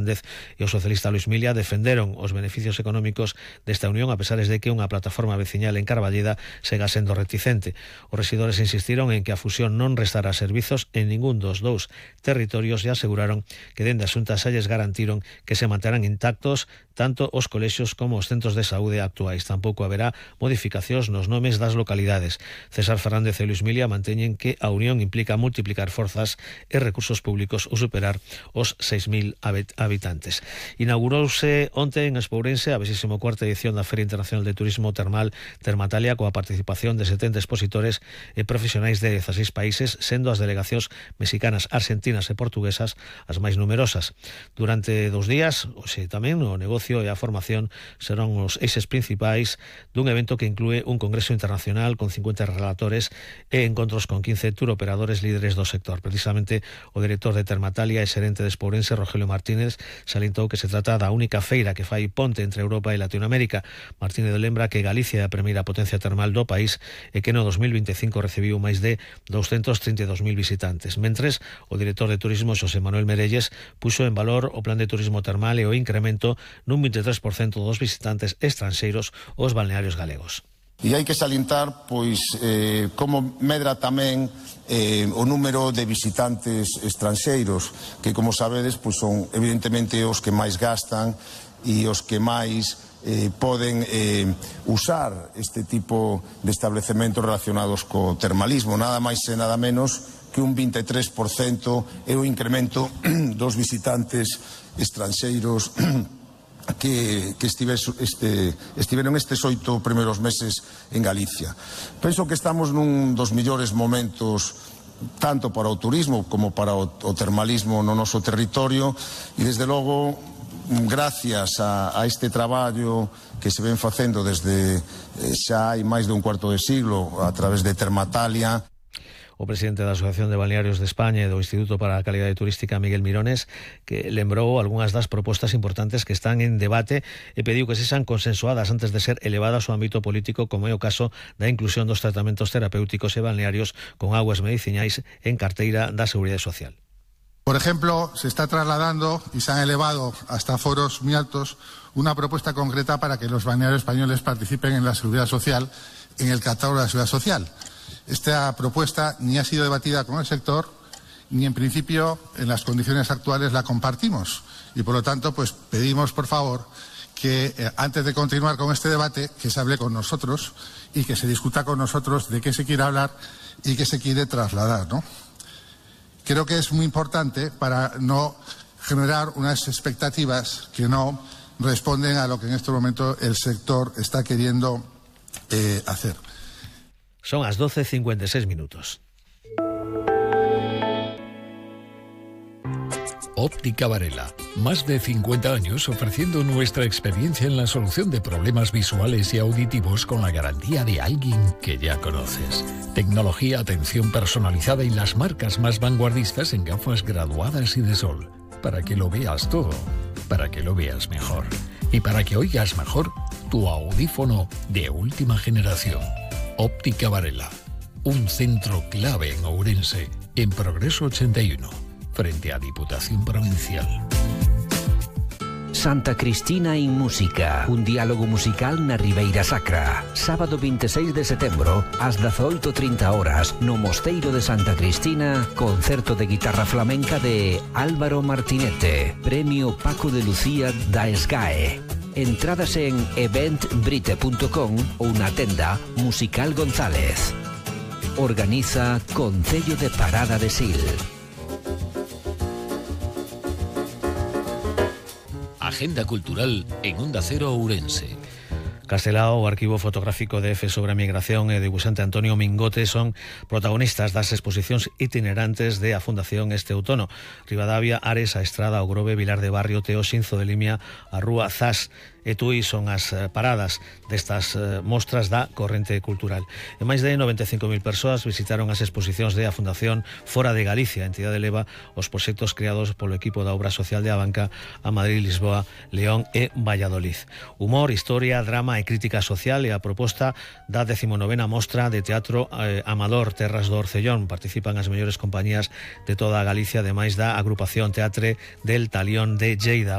e o socialista Luis Milia defenderon os beneficios económicos desta unión a pesar de que unha plataforma veciñal en Carballeda sega sendo reticente. Os rexidores insistiron en que a fusión non restará servizos en ningún dos dous territorios e aseguraron que dende a Xunta xa lles garantiron que se manterán intactos tanto os colexios como os centros de saúde actuais. Tampouco haberá modificacións nos nomes das localidades. César Fernández e Luis Milia manteñen que a unión implica multiplicar forzas e recursos públicos ou superar os 6.000 habitantes. Inaugurouse onte en Espourense a 24ª edición da Feria Internacional de Turismo Termal Termatalia coa participación de 70 expositores e profesionais de 16 países, sendo as delegacións mexicanas, argentinas e portuguesas as máis numerosas. Durante 2 días, hoxe tamén, o negocio e a formación serán os eixes principais dun evento que inclúe un congreso internacional con 50 relatores e encontros con 15 turoperadores líderes do sector. Precisamente o director de Termatalia e xerente de Espourense, Rogelio Martínez, salientou que se trata da única feira que fai ponte entre Europa e Latinoamérica. Martínez lembra que Galicia é a primeira potencia termal do país e que no 2025 recibiu máis de 232.000 visitantes. Mentres, o director de Turismo, Xosé Manuel Merelles, puxo en valor o plan de turismo termal e o incremento nun 23% dos visitantes estranxeiros aos balnearios galegos. E hai que salientar, como medra tamén o número de visitantes estranxeiros, que, como sabedes, son evidentemente os que máis gastan e os que máis poden usar este tipo de establecementos relacionados co termalismo. Nada máis e nada menos que un 23% é o incremento dos visitantes estranxeiros que estiveron estes 8 primeiros meses en Galicia. Penso que estamos nun dos mellores momentos tanto para o turismo como para o termalismo no noso territorio e, desde logo, gracias a este traballo que se ven facendo desde xa hai máis de un cuarto de siglo a través de Termatalia. O presidente da Asociación de Balnearios de España e do Instituto para a Calidade Turística, Miguel Mirones, que lembrou algunhas das propostas importantes que están en debate e pediu que sexan consensuadas antes de ser elevadas ao ámbito político, como é o caso da inclusión dos tratamentos terapéuticos e balnearios con augas mediciñais en carteira da Seguridade Social. Por ejemplo, se está trasladando y se han elevado hasta foros muy altos una propuesta concreta para que los balnearios españoles participen en la Seguridad Social, en el catálogo de la Seguridad Social. Esta propuesta ni ha sido debatida con el sector, ni en principio en las condiciones actuales la compartimos. Y por lo tanto, pedimos por favor que antes de continuar con este debate, que se hable con nosotros y que se discuta con nosotros de qué se quiere hablar y qué se quiere trasladar, ¿no? Creo que es muy importante para no generar unas expectativas que no responden a lo que en este momento el sector está queriendo hacer. Son as 12:56 minutos. Óptica Varela. Más de 50 años ofreciendo nuestra experiencia en la solución de problemas visuales y auditivos con la garantía de alguien que ya conoces. Tecnología, atención personalizada y las marcas más vanguardistas en gafas graduadas y de sol. Para que lo veas todo. Para que lo veas mejor. Y para que oigas mejor tu audífono de última generación. Óptica Varela. Un centro clave en Ourense, en Progreso 81. Frente a Diputación Provincial. Santa Cristina en Música, un diálogo musical na Ribeira Sacra. Sábado 26 de setembro, ás 18:30 no Mosteiro de Santa Cristina, concerto de guitarra flamenca de Álvaro Martinete, Premio Paco de Lucía da SGAE. Entradas en eventbrite.com ou na tenda Musical González. Organiza Concello de Parada de Sil. Agenda cultural en Onda Cero Ourense. Castelao, o arquivo fotográfico de EFE sobre a migración e o debuxante Antonio Mingote son protagonistas das exposicións itinerantes de a Fundación este outono. Ribadavia, Ares, a Estrada, o Grove, Vilar de Barrio, Teo, Xinzo de Limia, a Rúa, Zas e Tui son as paradas destas mostras da corrente cultural. E máis de 95.000 persoas visitaron as exposicións de a Fundación Fora de Galicia. A entidade leva os proxectos creados polo equipo da Obra Social de Abanca a Madrid, Lisboa, León e Valladolid. Humor, historia, drama e crítica social é a proposta da 19ª mostra de teatro amador Terras do Orcellón. Participan as mellores compañías de toda a Galicia, ademais da agrupación Teatre del Talión de Lleida.